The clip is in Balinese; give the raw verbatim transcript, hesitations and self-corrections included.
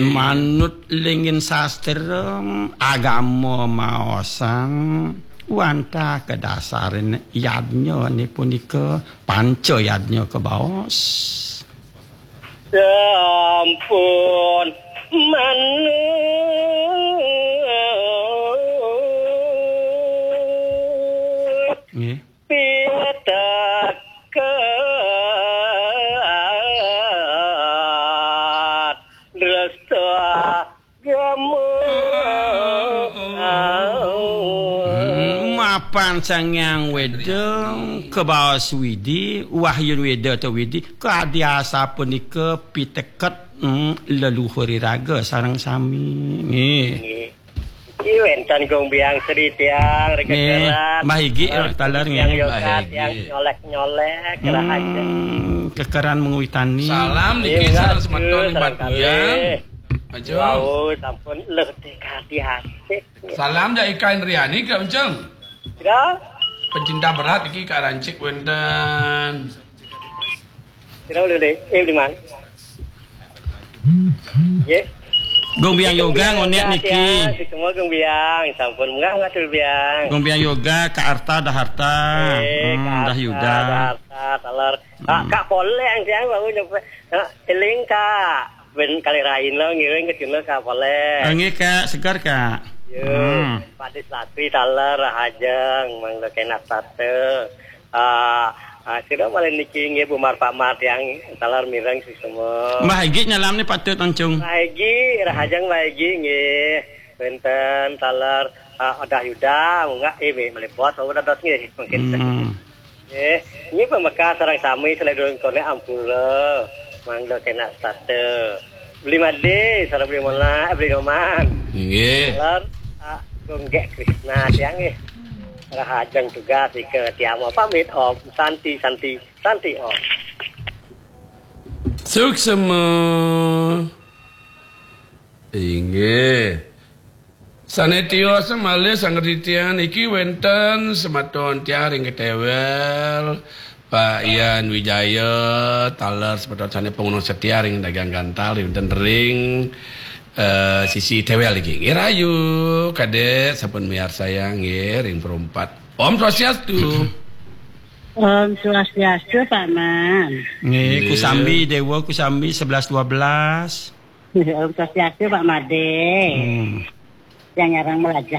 Manut lingin sastra agama maosang wantah kadasarin yadnya ni punika panca yadnya kabaos. Sampun manut Nggih. Pitekat dresta agama. Hmm, mapan Sang Hyang Weda, kabaos Widi, Wahyun Weda ta Widi, kadi asapunika piteket, hmm, leluhur iraga sareng sami. Nggih. Nggih. Iki wénten Gung Biang Sri tiang, nggih, rekekeran. Mbah Igi, taler, nggih. Tiang yoga, Mbah Igi. Tiang nyolek-nyolek, hmm, rahaja. Kekeran mengwitani. Salam niki, nggih, sareng semeton sareng Mbah Buyang. Kalih. Aja. Wau, sampun leh dikati asik. Salam jak Ika Indriani, Kak Unceng. Sira? Pencinta berat iki Kak Rancik wénten. Sira udah deh, eh, di mana? Nggih. Gung Biang Yoga ngonek niki. Tiang, semua Gung Biang, sampun munggah ngatur Biang. Gung Biang Yoga, Kak Arta, Daharta. Eh, hmm, Kak Arta, Dahyuda. Daharta, taler. Kak, hmm. Kak Poleng tiang baru nyampe. Nah, eling Kak. Ben kalih rahina ngiring ke sini Kak Poleng. Ah, nggih, Kak, segar, Kak. Yo, hmm. Pak Dislatri taler rahajeng, mangda kenak sate. Ah, ah, sira malih niki nggih Bu Mar Pak Mar tiang taler mireng semua. Mbah Egi nyalam ni patut oncung. Mbah Egi, rahajeng Mbah Egi nggih. Wénten taler, ah, Odah Yuda, munggah, eh, malih bos, udah dos nggih, mungkin. Hmm. Nggih, nggih pamekas sareng sami sané durung koné ampura. Mangda kenak sate. Beli Made, sareng beli Mona, eh, beli Noman. Nggih. Taler, ah, Gung Gék Krisna tiang nggih. Rahajeng tugas ika tiang mau pamit, Om. Santi, Santi, Santi, Om. Suksma. Inggih. Sané tios malih sangretitian iki wénten semeton tiang ring Ketewel, Pak Yan Wijaya, taler semeton sané pangunung setia ring Dagang Gantal, wénten ring, eh, sisi Tewel iki. Nggih, rahayu, Kadék, sampun miarsayang nggih ring Perumpat. Om Swastiastu. Om Swastiastu, Pak Man. Nggih, nggih. Kusambi, Dewa Kusambi sebelas dua belas. Om Swastiastu, Pak Made. Hmm. Yang ngarang melajah